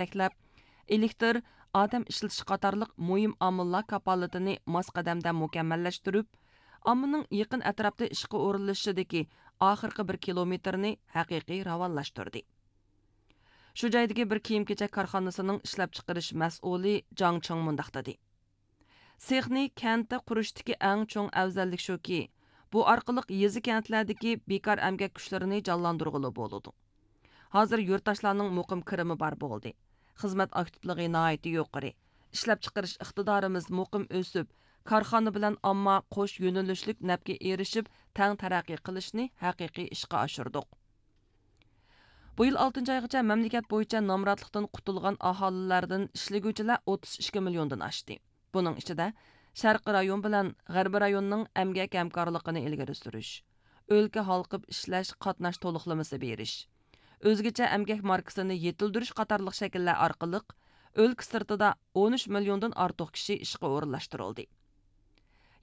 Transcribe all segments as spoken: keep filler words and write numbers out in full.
يېتەكلەپ، ئېلېكتىر، ئادەم ئىشلىتىش قاتارلىق مۇھىم ئامىللار كاپالىتىنى ماس قەدەمدە مۇكەممەللەشتۈرۈپ، ئاممىنىڭ يېقىن ئەتراپتا ئىشقا ئورۇنلىشىشىدىكى ئاخىرقى بىر كىلومېتىرنى ھەقىقىي راۋانلاشتۇردى. شۇ جايدىكى بىر كىيىم-كېچەك كارخانىسىنىڭ ئىشلەپچىقىرىش مەسئۇلى جاڭ چىڭ مۇنداق دېدى: سېخنى كەنتتە قۇرۇشتىكى ئەڭ چوڭ ئەۋزەللىك شۇكى، بۇ ئارقىلىق يېزا-كەنتلەردىكى بىكار ئەمگەك كۈچلىرىنى جانلاندۇرغىلى بولىدۇ. ھازىر يۇرتداشلارنىڭ مۇقىم كىرىمى بار بولدى. خىزمەت ئاكتىپلىقى ناھايىتى يۇقىرى. ئىشلەپچىقىرىش ئىقتىدارىمىز مۇقىم ئۆسۈپ، كارخانا بىلەن ئامما قوش يۆنىلىشلىك نەپكە ئېرىشىپ، تەڭ تەرەققىي قىلىشنى ھەقىقىي ئىشقا ئاشۇردۇق. بۇ يىل ئالتىنچى ئايغىچە مەملىكەت بويىچە نامراتلىقتىن قۇتۇلغان ئاھالىلەردىن ئىشلىگۈچىلەر ئوتتۇز ئىككى مىليوندىن ئاشتى. بۇنىڭ ئىچىدە، شەرقىي رايون بىلەن غەربىي رايوننىڭ ئەمگەك ھەمكارلىقىنى ئىلگىرى سۈرۈش، ئۆلكە ھالقىپ ئىشلەش قاتناش تولۇقلىمىسى بېرىش، ئۆزگىچە ئەمگەك ماركىسىنى يېتىلدۈرۈش قاتارلىق شەكىللەر ئارقىلىق ئۆلكە سىرتىدا ئون ئۈچ مىليوندىن ئارتۇق كىشى ئىشقا ئورۇنلاشتۇرۇلدى.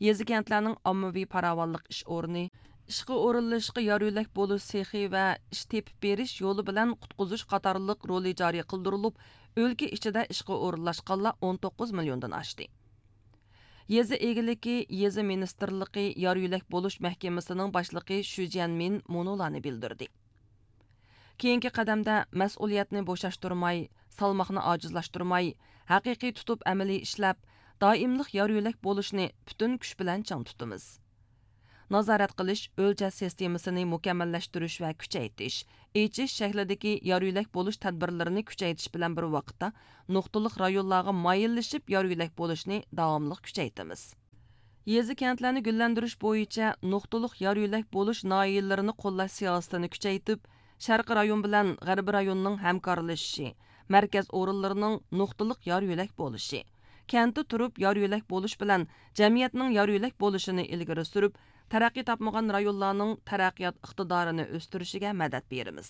يېزا-كەنتلەرنىڭ ئاممىۋى پاراۋانلىق ئىش ئورنى، ئىشقا ئورۇنلىشىشقا يار-يۆلەك بولۇش سېخى ۋە ئىش تېپىپ بېرىش يولى بىلەن قۇتقۇزۇش قاتارلىق رولى جارى قىلدۇرۇلۇپ، ئۆلكە ئىچىدە ئىشقا ئورۇنلاشقانلار ئون توققۇز مىليوندىن ئاشتى. يېزا ئىگىلىكى، يېزا مىنىستىرلىقى يار-يۆلەك بولۇش مەھكىمىسىنىڭ باشلىقى شۈ جيەنمىن مۇنۇلارنى بىلدۈردى: كېيىنكى قەدەمدە مەسئۇلىيەتنى بوشاشتۇرماي، سالماقنى ئاجىزلاشتۇرماي، ھەقىقىي تۇتۇپ ئەمەلىي ئىشلەپ، دائىملىق يار-يۆلەك بولۇشنى پۈتۈن كۈچ بىلەن چىڭ تۇتىمىز. نازارەت قىلىش، ئۆلچەش سىستېمىسىنى مۇكەممەللەشتۈرۈش ۋە كۈچەيتىش، ئېچىش شەكلىدىكى يار-يۆلەك بولۇش تەدبىرلىرىنى كۈچەيتىش بىلەن بىر ۋاقىتتا، نۇقتىلىق رايونلارغا مايىللىشىپ يار-يۆلەك بولۇشنى داۋاملىق كۈچەيتىمىز. يېزا-كەنتلەرنى گۈللەندۈرۈش بويىچە نۇقتىلىق يار-يۆلەك بولۇش ناھىيەلىرىنى قوللاش سىياسىتىنى كۈچەيتىپ، شەرقىي رايون بىلەن غەربىي رايوننىڭ ھەمكارلىشىشى، مەركەز ئورۇنلىرىنىڭ نۇقتىلىق يار-يۆلەك بولۇشى، كەنتتە تۇرۇپ يار-يۆلەك بولۇش بىلەن جەمئىيەتنىڭ يار-يۆلەك بولۇشىنى ئىلگىرى سۈرۈپ، تەرەققىي تاپمىغان رايونلارنىڭ تەرەققىيات ئىقتىدارىنى ئۆستۈرۈشىگە مەدەت بېرىمىز.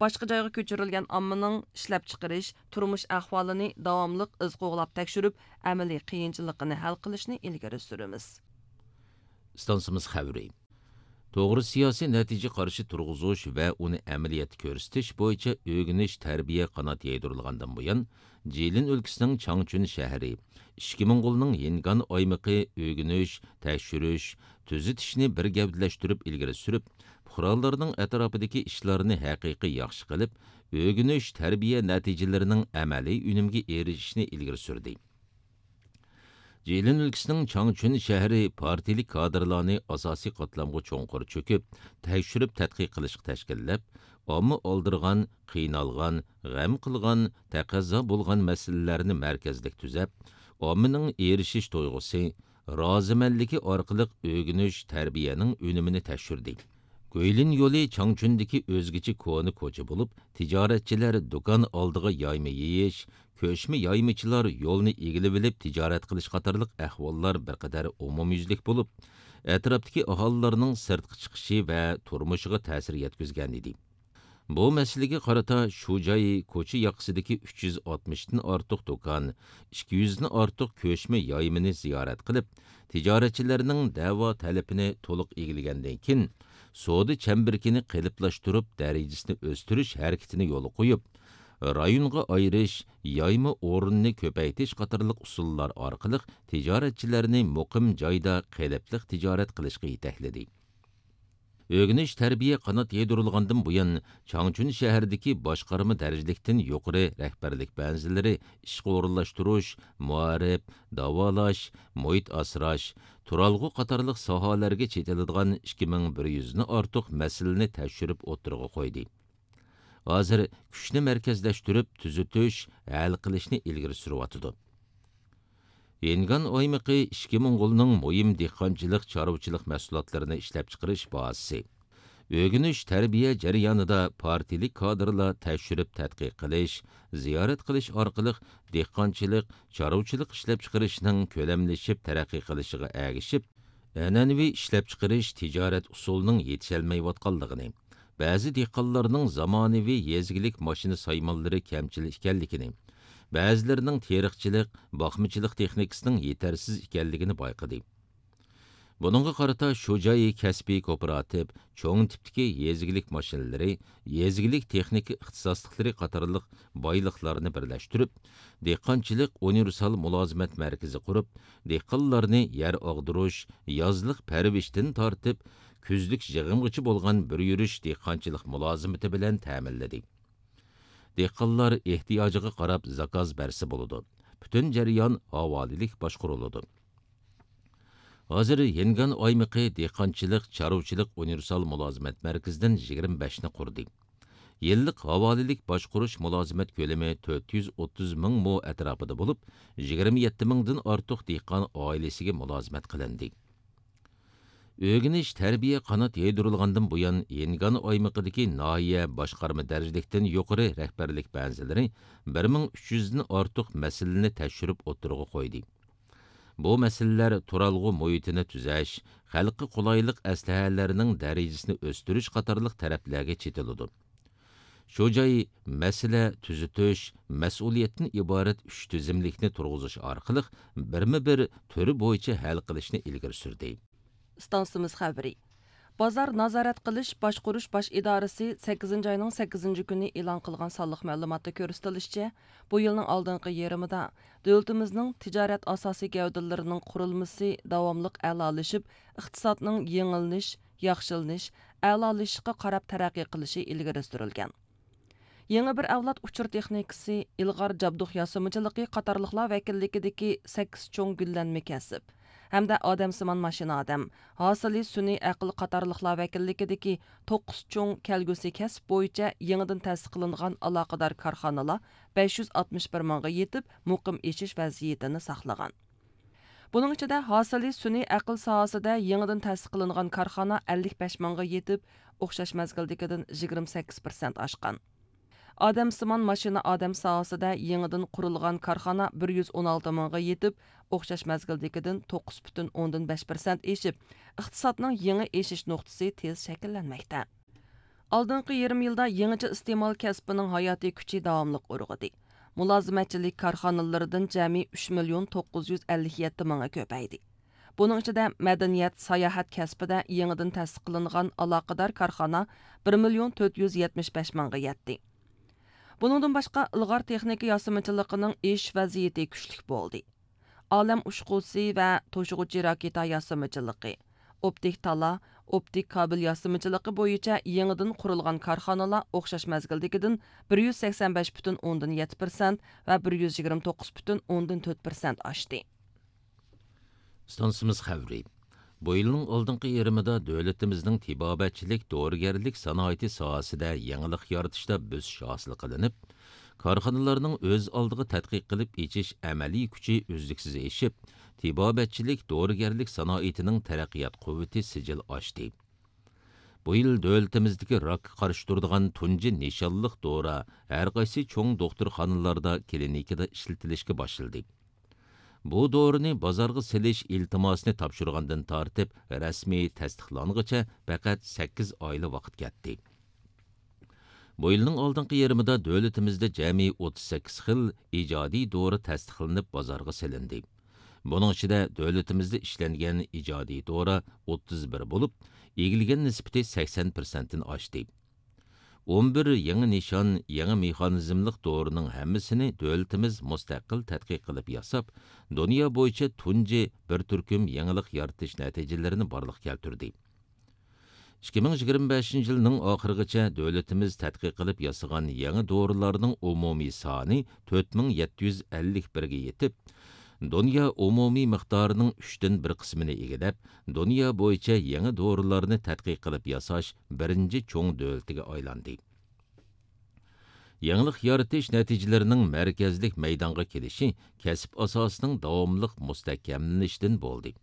باشقا جايغا كۆچۈرۈلگەن ئاممىنىڭ ئىشلەپچىقىرىش، تۇرمۇش ئەھۋالىنى داۋاملىق ئىز قوغلاپ تەكشۈرۈپ، ئەمەلىي قىيىنچىلىقىنى ھەل قىلىشنى ئىلگىرى سۈرىمىز. ئىستانسىمىز خەۋىرى. توغرا سىياسىي نەتىجە قارىشى تۇرغۇزۇش ۋە ئۇنى ئەمەلىيەتتە كۆرسىتىش بويىچە ئۆگىنىش، تەربىيە قانات يايدۇرۇلغاندىن بۇيان، جىلىن ئۆلكىسىنىڭ چاڭچۈن شەھىرى، ئىچكى موڭغۇلنىڭ يىنگان ئايمىقى ئۆگىنىش، تەكشۈرۈش، تۈزىتىشنى بىر گەۋدىلەشتۈرۈپ ئىلگىرى سۈرۈپ، پۇقرالارنىڭ ئەتراپىدىكى ئىشلارنى ھەقىقىي ياخشى قىلىپ، ئۆگىنىش، تەربىيە نەتىجىلىرىنىڭ ئەمەلىي ئۈنۈمگە ئېرىشىشىنى ئىلگىرى سۈردى. جىلىن ئۆلكىسىنىڭ چاڭچۈن شەھىرى پارتىيىلىك كادىرلارنى ئاساسىي قاتلامغا چوڭقۇر چۆكۈپ، تەكشۈرۈپ تەتقىق قىلىشقا تەشكىللەپ، ئامما ئالدىرىغان، قىينالغان، غەم قىلغان، تەقەززا بولغان مەسىلىلەرنى مەركەزلىك تۈزەپ، ئاممىنىڭ ئېرىشىش تۇيغۇسى، رازىمەنلىكى ئارقىلىق ئۆگىنىش، تەربىيەنىڭ ئۈنۈمىنى تەكشۈردى. گۇيلىن يولى چاڭچۈندىكى ئۆزگىچە كونا كوچا بولۇپ، تىجارەتچىلەر دۇكان ئالدىغا يايما يېيىش، كۆچمە يايمىچىلار يولنى ئىگىلىۋېلىپ تىجارەت قىلىش قاتارلىق ئەھۋاللار بىر قەدەر ئومۇميۈزلۈك بولۇپ، ئەتراپتىكى ئاھالىلەرنىڭ سىرتقا چىقىشى ۋە تۇرمۇشىغا تەسىر يەتكۈزگەنىدى. بۇ مەسىلىگە قارىتا شۇ جاي كوچا ياقىسىدىكى ئۈچ يۈز ئاتمىشتىن ئارتۇق دۇكان، ئىككى يۈزدىن ئارتۇق كۆچمە يايمىنى زىيارەت قىلىپ، تىجارەتچىلەرنىڭ دەۋا تەلىپىنى تولۇق ئىگىلىگەندىن كېيىن، سودا چەمبىرىكىنى قېلىپلاشتۇرۇپ، دەرىجىسىنى ئۆستۈرۈش ھەرىكىتىنى يولغا قويۇپ، رايونغا ئايرىش، يايما ئورنىنى كۆپەيتىش قاتارلىق ئۇسۇللار ئارقىلىق تىجارەتچىلەرنى مۇقىم جايدا قېلىپلىق تىجارەت قىلىشقا يېتەكلىدى. ئۆگىنىش، تەربىيە قانات يايدۇرۇلغاندىن بۇيان، چاڭچۈن شەھىرىدىكى باشقارما دەرىجىلىكتىن يۇقىرى رەھبەرلىك بەنزىلىرى ئىشقا ئورۇنلاشتۇرۇش، مائارىپ، داۋالاش، مۇھىت ئاسراش، تۇرالغۇ قاتارلىق ساھەلەرگە چېتىلىدىغان ئىككى مىڭ بىر يۈزدىن ئارتۇق مەسىلىنى تەكشۈرۈپ ئوتتۇرىغا قويدى. ھازىر كۈچنى مەركەزلەشتۈرۈپ، تۈزىتىش، ھەل قىلىشنى ئىلگىرى سۈرۈۋاتىدۇ. ھىنگان ئايمىقى ئىچكى موڭغۇلنىڭ مۇھىم دېھقانچىلىق، چارۋىچىلىق مەھسۇلاتلىرىنى ئىشلەپچىقىرىش بازىسى. ئۆگىنىش، تەربىيە جەريانىدا پارتىيىلىك كادىرلار تەكشۈرۈپ تەتقىق قىلىش، زىيارەت قىلىش ئارقىلىق دېھقانچىلىق، چارۋىچىلىق ئىشلەپچىقىرىشنىڭ كۆلەملىشىپ تەرەققىي قىلىشىغا ئەگىشىپ، ئەنئەنىۋى ئىشلەپچىقىرىش، تىجارەت ئۇسۇلىنىڭ يېتىشەلمەيۋاتقانلىقىنى، بەزى دېھقانلارنىڭ زامانىۋى يېزا ئىگىلىك ماشىنا سايمانلىرى كەمچىل ئىكەنلىكىنى، بەزىلىرىنىڭ تېرىقچىلىق، باقمىچىلىق تېخنىكىسىنىڭ يېتەرسىز ئىكەنلىكىنى بايقىدى. بۇنىڭغا قارىتا شۇجاي كەسپىي كوپىراتىپ چوڭ تىپتىكى يېزا ئىگىلىك ماشىنىلىرى، يېزا ئىگىلىك تېخنىكا ئىختىساسلىقلىرى قاتارلىق بايلىقلارنى بىرلەشتۈرۈپ، دېھقانچىلىق ئۇنىۋېرسال مۇلازىمەت مەركىزى قۇرۇپ، دېھقانلارنى يەر ئاغدۇرۇش، يازلىق پەرۋىشتىن تارتىپ، كۈزلۈك يىغىمغىچە بولغان بىر يۈرۈش دېھقانچىلىق مۇلازىمىتى بىلەن تەمىنلىدى. دېھقانلار ئېھتىياجىغا قاراپ زاكاز بەرسە بولىدۇ. پۈتۈن جەريان ھاۋالىلىك باشقۇرۇلىدۇ. ھازىر ھىنگان ئايمىقى دېھقانچىلىق، چارۋىچىلىق ئۇنىۋېرسال مۇلازىمەت مەركىزىدىن يىگىرمە بەشنى قۇردى. يىللىق ھاۋالىلىك باشقۇرۇش مۇلازىمەت كۆلىمى تۆت يۈز ئوتتۇز مىڭ مو ئەتراپىدا بولۇپ، يىگىرمە يەتتە مىڭدىن ئارتۇق دېھقان ئائىلىسىگە مۇلازىمەت قىلىندى. ئۆگىنىش، تەربىيە قانات يايدۇرۇلغاندىن بۇيان، ھىنگان ئايمىقىدىكى ناھىيە باشقارما دەرىجىلىكتىن يۇقىرى رەھبەرلىك بەنزىلىرى بىر مىڭ ئۈچ يۈزدىن ئارتۇق مەسىلىنى تەكشۈرۈپ ئوتتۇرىغا قويدى. بۇ مەسىلىلەر تۇرالغۇ مۇھىتىنى تۈزەش، خەلققە قولايلىق ئەسلىھەلەرنىڭ دەرىجىسىنى ئۆستۈرۈش قاتارلىق تەرەپلەرگە چېتىلىدۇ. شۇ جاي مەسىلە تۈزىتىش، مەسئۇلىيەتتىن ئىبارەت ئۈچ تىزىملىكنى تۇرغۇزۇش ئارقىلىق بىرمۇ بىر تۈرى بويىچە ھەل قىلىشنى ئىلگىرى سۈردى. ئىستانسىمىز خەۋىرى. بازار نازارەت قىلىش باشقۇرۇش باش ئىدارىسى سەككىزىنچى ئاينىڭ سەككىزىنچى كۈنى ئېلان قىلغان سانلىق مەلۇماتتا كۆرسىتىلىشىچە، بۇ يىلنىڭ ئالدىنقى يېرىمىدا دۆلىتىمىزنىڭ تىجارەت ئاساسىي گەۋدىلىرىنىڭ قۇرۇلمىسى داۋاملىق ئەلالىشىپ، ئىقتىسادنىڭ يېڭىلىنىش، ياخشىلىنىش، ئەلالىشىشقا قاراپ تەرەققىي قىلىشى ئىلگىرى سۈرۈلگەن. يېڭى بىر ئەۋلاد ئۇچۇر تېخنىكىسى، ئىلغار جابدۇق ياسىمىچىلىقى قاتارلىقلار ۋەكىللىكىدىكى سەككىز چوڭ گۈللەنمە كەسىپ ھەمدە ئادەمسىمان ماشىنا ئادەم، ھاسىلى سۈنئىي ئەقىل قاتارلىقلار ۋەكىللىكىدىكى توققۇز چوڭ كەلگۈسى كەسىپ بويىچە يېڭىدىن تەسىس قىلىنغان ئالاقىدار كارخانىلار بەش يۈز ئاتمىش بىر مىڭغا يېتىپ، مۇقىم ئېشىش ۋەزىيىتىنى ساقلىغان. بۇنىڭ ئىچىدە ھاسىلى سۈنئىي ئەقىل ساھەسىدە يېڭىدىن تەسىس قىلىنغان كارخانا ئەللىك بەش مىڭغا يېتىپ، ئوخشاش مەزگىلدىكىدىن يىگىرمە سەككىز پىرسەنت ئاشقان. ئادەمسىمان ماشىنا ئادەم ساھەسىدە يېڭىدىن قۇرۇلغان كارخانا بىر يۈز ئون ئالتە مىڭغا يېتىپ، ئوخشاش مەزگىلدىكىدىن توققۇز پۈتۈن ئوندىن بەش پىرسەنت ئېشىپ، ئىقتىسادنىڭ يېڭى ئېشىش نۇقتىسى تېز شەكىللەنمەكتە. ئالدىنقى يېرىم يىلدا يېڭىچە ئىستېمال كەسپىنىڭ ھاياتىي كۈچى داۋاملىق ئۇرغۇدى. مۇلازىمەتچىلىك كارخانىلىرىدىن جەمئىي ئۈچ مىليون توققۇز يۈز ئەللىك يەتتە مىڭى كۆپەيدى. بۇنىڭ ئىچىدە مەدەنىيەت، ساياھەت كەسپىدە يېڭىدىن تەسىس قىلىنغان ئالاقىدار كارخانا بىر مىليون تۆت يۈز يەتمىش بەش مىڭغا يەتتى. بۇنىڭدىن باشقا، ئىلغار تېخنىكا ياسىمىچىلىقىنىڭ ئېشىش ۋەزىيىتى كۈچلۈك بولدى. ئالەم ئۇچقۇسى ۋە توشۇغۇچى راكېتا ياسىمىچىلىقى، ئوپتىك تالا، ئوپتىك كابېل ياسىمىچىلىقى بويىچە يېڭىدىن قۇرۇلغان كارخانىلار ئوخشاش مەزگىلدىكىدىن بىر يۈز سەكسەن بەش پۈتۈن ئوندىن يەتتە پىرسەنت ۋە بىر يۈز يىگىرمە توققۇز پۈتۈن ئوندىن تۆت پىرسەنت ئاشتى. ئىستانسىمىز خەۋىرى. بۇ يىلنىڭ ئالدىنقى يېرىمىدا دۆلىتىمىزنىڭ تېبابەتچىلىك دورىگەرلىك سانائىتى ساھەسىدە يېڭىلىق يارىتىشتا بۆسۈش ھاسىل قىلىنىپ، كارخانىلارنىڭ ئۆز ئالدىغا تەتقىق قىلىپ ئېچىش ئەمەلىي كۈچى ئۈزلۈكسىز ئېشىپ، تېبابەتچىلىك دورىگەرلىك سانائىتىنىڭ تەرەققىيات قۇۋۋىتى سىجىل ئاشتى. بۇ يىل دۆلىتىمىزدىكى راكقا قارشى تۇرىدىغان تۇنجى نىشانلىق دورا ھەرقايسى چوڭ دوختۇرخانىلاردا، كلىنىكىدا ئىشلىتىلىشكە باشلىدى. بۇ دورىنى بازارغا سېلىش ئىلتىماسىنى تاپشۇرغاندىن تارتىپ رەسمىي تەستىقلانغىچە پەقەت سەككىز ئايلا ۋاقىت كەتتى. بۇ يىلنىڭ ئالدىنقى يېرىمىدا دۆلىتىمىزدە جەمئىي ئوتتۇز سەككىز خىل ئىجادىي دورا تەستىقلىنىپ بازارغا سېلىندى. بۇنىڭ ئىچىدە دۆلىتىمىزدە ئىشلەنگەن ئىجادىي دورا ئوتتۇز بىر بولۇپ، ئىگىلىگەن نىسبىتى سەكسەن پىرسەنتتىن ئاشتى. ئون بىر يېڭى نىشان، يېڭى مېخانىزملىق دورىنىڭ ھەممىسىنى دۆلىتىمىز مۇستەقىل تەتقىق قىلىپ ياساپ، دۇنيا بويىچە تۇنجى بىر تۈركۈم يېڭىلىق يارىتىش نەتىجىلىرىنى بارلىققا كەلتۈردى. ئىككى مىڭ يىگىرمە بەشىنچى يىلنىڭ ئاخىرىغىچە دۆلىتىمىز تەتقىق قىلىپ ياسىغان يېڭى دورىلارنىڭ ئومۇمىي سانى تۆت مىڭ يەتتە يۈز ئەللىك بىرگە يېتىپ، دۇنيا ئومۇمىي مىقدارىنىڭ ئۈچتىن بىر قىسمىنى ئىگىلەپ، دۇنيا بويىچە يېڭى دورىلارنى تەتقىق قىلىپ ياساش بىرىنچى چوڭ دۆلىتىگە ئايلاندى. يېڭىلىق يارىتىش نەتىجىلىرىنىڭ مەركەزلىك مەيدانغا كېلىشى كەسىپ ئاساسىنىڭ داۋاملىق مۇستەھكەملىنىشىدىن بولدى.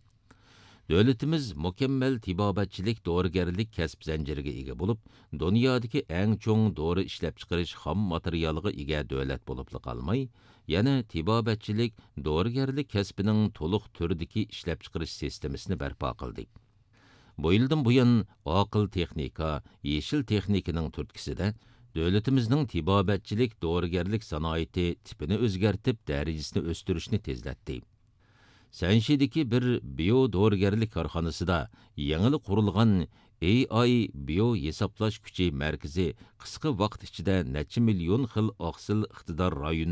دۆلىتىمىز مۇكەممەل تېبابەتچىلىك دورىگەرلىك كەسىپ زەنجىرىگە ئىگە بولۇپ، دۇنيادىكى ئەڭ چوڭ دورا ئىشلەپچىقىرىش خام ماتېرىيالىغا ئىگە دۆلەت بولۇپلا قالماي، يەنە تېبابەتچىلىك دورىگەرلىك كەسپىنىڭ تولۇق تۈردىكى ئىشلەپچىقىرىش سىستېمىسىنى بەرپا قىلدى. بۇ يىلدىن بۇيان، ئاقىل تېخنىكا، يېشىل تېخنىكىنىڭ تۈرتكىسىدە دۆلىتىمىزنىڭ تېبابەتچىلىك دورىگەرلىك سانائىتى تىپىنى ئۆزگەرتىپ، دەرىجىسىنى ئۆستۈرۈشنى تېزلەتتى. سەنشىدىكى بىر بىيو دورىگەرلىك كارخانىسىدا يېڭىلا قۇرۇلغان ئېي ئاي بىيو ھېسابلاش كۈچى مەركىزى قىسقا ۋاقىت ئىچىدە نەچچە مىليون خىل ئاقسىل ئىقتىدار رايونى